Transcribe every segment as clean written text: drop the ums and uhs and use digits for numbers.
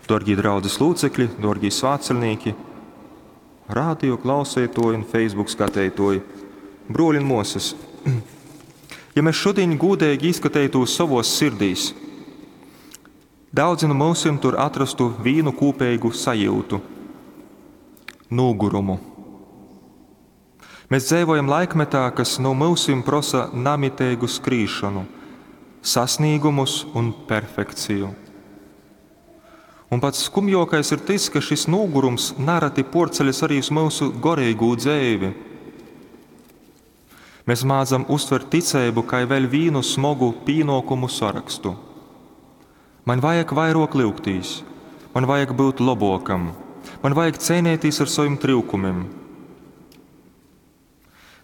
Dārgie draudzes locekļi, dārgie svētceļnieki, radio klausētoji un Facebook skatītoji, broļi un mosas. Ja mēs šodien gūdīgi izskatītos savos sirdīs, daudzi no mūsim tur atrastu vīnu kūpīgu sajūtu – nogurumu. Mēs dzīvojam laikmetā, kas no mūsim prosa namitēgu skrīšanu, sasniegumus un perfekciju. Un pats skumjokais ir tas, ka šis nogurums narati porceļas arī uz mūsu gorīgo dzēvi. Mēs mācam uztvert ticību kā vēl vīnu smogu pīnokumu sarakstu. Man vajag vairāk lūgtīs, man vajag būt labokam, man vajag cīnīties ar saviem trūkumiem.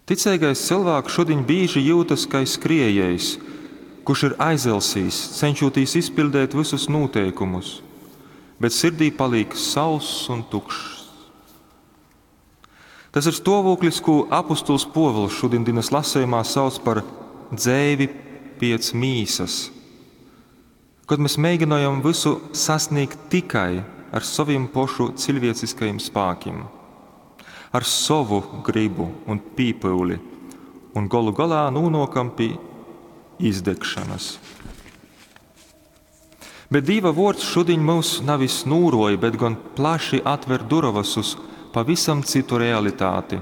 Ticīgais cilvēks šodien bieži jūtas kā skriejējs, kurš ir aizelsījis, cenšoties izpildīt visus noteikumus, bet sirdī paliek sauss un tukšs. Tas ir stāvoklis, ko apustuls Pōvils šodienas lasījumā sauc par dzēvi piec mīsas. Kad mēs mēģinājam visu sasniegt tikai ar saviem pošu cilvēciskajiem spēkiem, ar savu gribu un pīpūli, un golu galā nonākam pie izdegšanas. Bet Dieva vārds šodien mūs nevis nūroja, bet gan plaši atver durovas uz pavisam citu realitāti.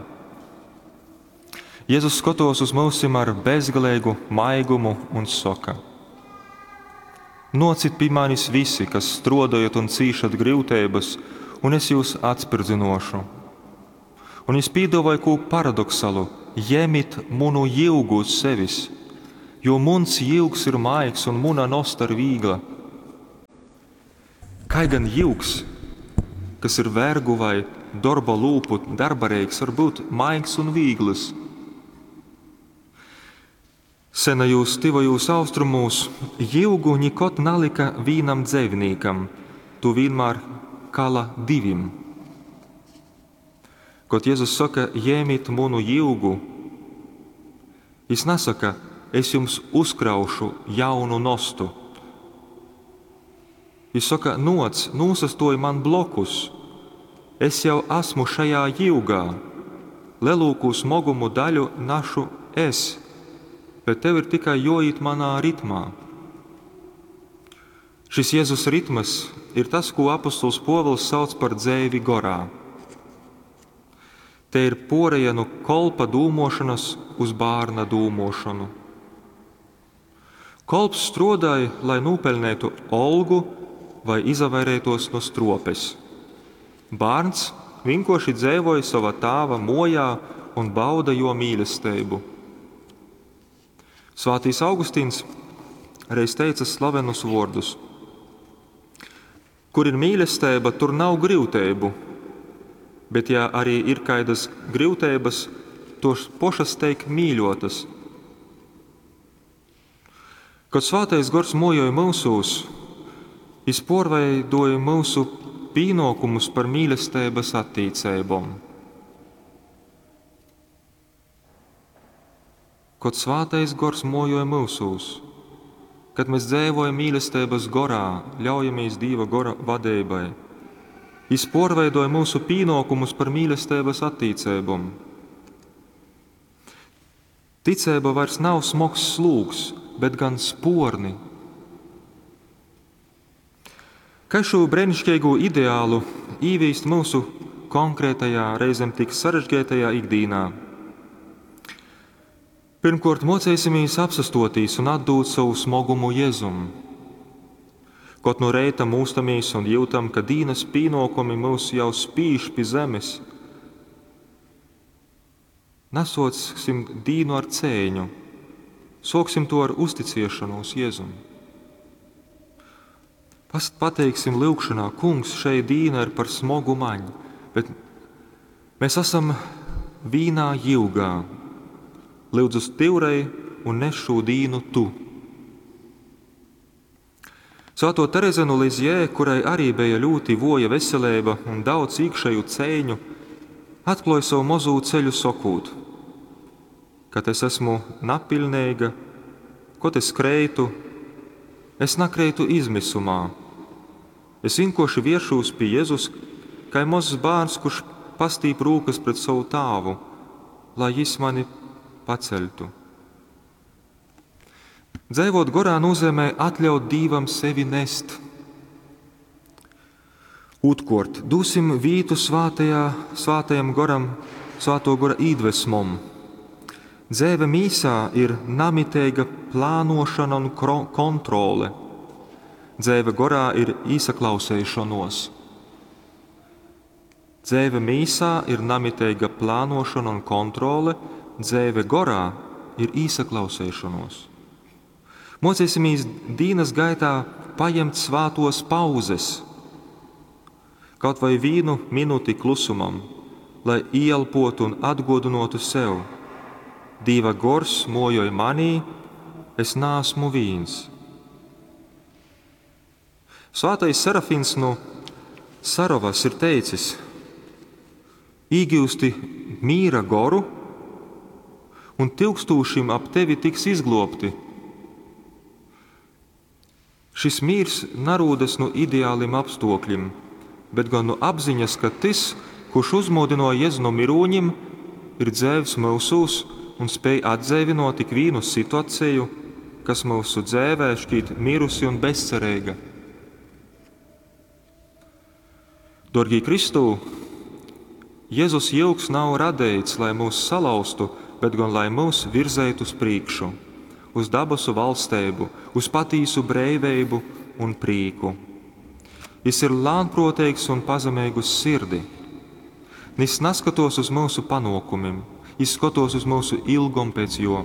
Jēzus skatos uz mūsim ar bezgalīgu maigumu un saka: Nocit pie manis visi, kas strodojat un cīšat grūtības, un es jūs atspirdzinošu. Un viņš pīdavoja ko paradoksalu: ņemit munu jilgu uz sevis, jo muns jilgs ir maigs un muna nosta ir vīgla. Kā gan jilgs, kas ir vergu vai darba lūpu darbareiks, var būt maigs un vīgls? Senajūs tivajūs austrumūs jilgu nikot nalika vīnam dzēvnīkam, tu vienmēr kala divim. Kad Jēzus saka, ņemiet munu jilgu, viņš nesaka, es jums uzkraušu jaunu nostu. Viņš saka, noc, nūsastoj man blokus, es jau esmu šajā jilgā, lelūku smogumu daļu našu es, bet tev ir tikai joīt manā ritmā. Šis Jēzus ritms ir tas, ko apustuls Pōvils sauc par dzēvi gorā. Te ir poreja no kolpa dūmošanas uz bārna dūmošanu. Kolps strodāja, lai nopelnētu olgu vai izavairētos no stropes. Bārns vienkārši dzēvoja sava tāva mojā un bauda jo mīlestību. Svētīs Augustīns reiz teica slavenus vārdus: Kur ir mīlestība, tur nav grūtību, bet ja arī ir kādas grūtības, tos pošas teik mīļotas. Kad svētais gors mojoja mūsūs, jis porveidoja mūsu pīnokumus par mīlestības attīcībom. Kad svētais gors mojoja mūsūs, kad mēs dzīvojam mīlestības gorā, ļaujamies Dieva gora vadībai, jis porveidoja mūsu pīnokumus par mīlestības attīcībom. Ticība vairs nav smogs slūgs, bet gan sporni. Kā šo brīnišķīgo ideālu īvīst mūsu konkrētajā, reizēm tik sarežģītajā ikdienā? Pirmkārt, mocēsimies apsastotīs un atdūt savu smogumu Jēzum. Kaut no reita mūstamies un jūtam, ka dīnas pīnokumi mūs jau spīž pie zemes, nesocsim dīnu ar cēņu, soksim to ar uzticēšanos Jēzum. Pateiksim lūgšanā, kungs, šeit dīna ir par smogu maņu, bet mēs esam vīnā jilgā. Lūdzu stīvrei un nes šo dīnu tu. Svēto Terezi no Lizjē, kurai arī bija ļoti voja veselība un daudz iekšēju cēņu, atklāja savu mazo ceļu sokūt, kad es esmu napilnīga, kot es kreitu, es nakreitu izmisumā. Es vīnkuorši vieršūs pi Jezus, kai mozs bārns, kurš pastīp rūkys pret sovu tāvu, lai jis mani paceļtu. Dzeivot gorā nozīmē atļaut Dīvam sevi nest. Otrkārt, dosim vītu svātajā, svātajam goram, svāto gora īdvesmom. Dzēve mīsā ir namiteiga plānošana un kontrole. Dzēve gorā ir īsaklauseišonuos. Dzēve mīsā ir namiteiga plānošana un kontrole, dzēve gorā ir īsaklauseišonuos. Mocīsimies dienas gaitā paņemt svātos pauzes, kaut vai vienu minūti klusumam, lai ieelpotu un atgodinātu sev. Dieva gors mojoj manī, es neesmu viens. Svētais Serafins no Sarovas ir teicis: Īgūsti mīra goru, un tūkstošiem ap tevi tiks izglābti. Šis mīrs narūdas no ideāliem apstākļiem, bet gan no apziņas, ka tas, kurš uzmodināja Jēzu no mirūņiem, ir dzēvs mūsūs un spēj atdzēvinot tik vienu situāciju, kas mūsu dzēvē šķiet mirusi un bezcerīga. Dorgī Kristū, Jēzus jilgs nav radīts, lai mūs salauztu, bet gan lai mūs virzētu uz priekšu, uz dabasu valstību, uz patīsu breiveibu un prīku. Jis ir lānproteigs un pazemīgs uz sirdi. Nis neskatos uz mūsu panākumiem, jis skatos uz mūsu ilgom pēc jo.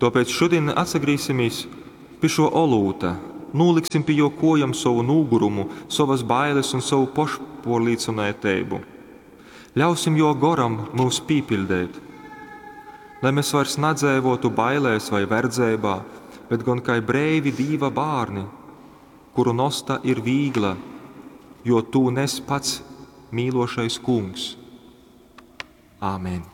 Tāpēc šodien atsagrīsimies pie šo olūta, noliksim pie jo kojam savu nūgurumu, savas bailes un savu pošporlīcinātību. Ļausim jo goram mūs pīpildēt, lai mēs vairs nedzēvotu bailēs vai verdzībā, bet gan kā breivi dīva bārni, kuru nosta ir vīgla, jo tū nes pats mīlošais kungs. Āmen!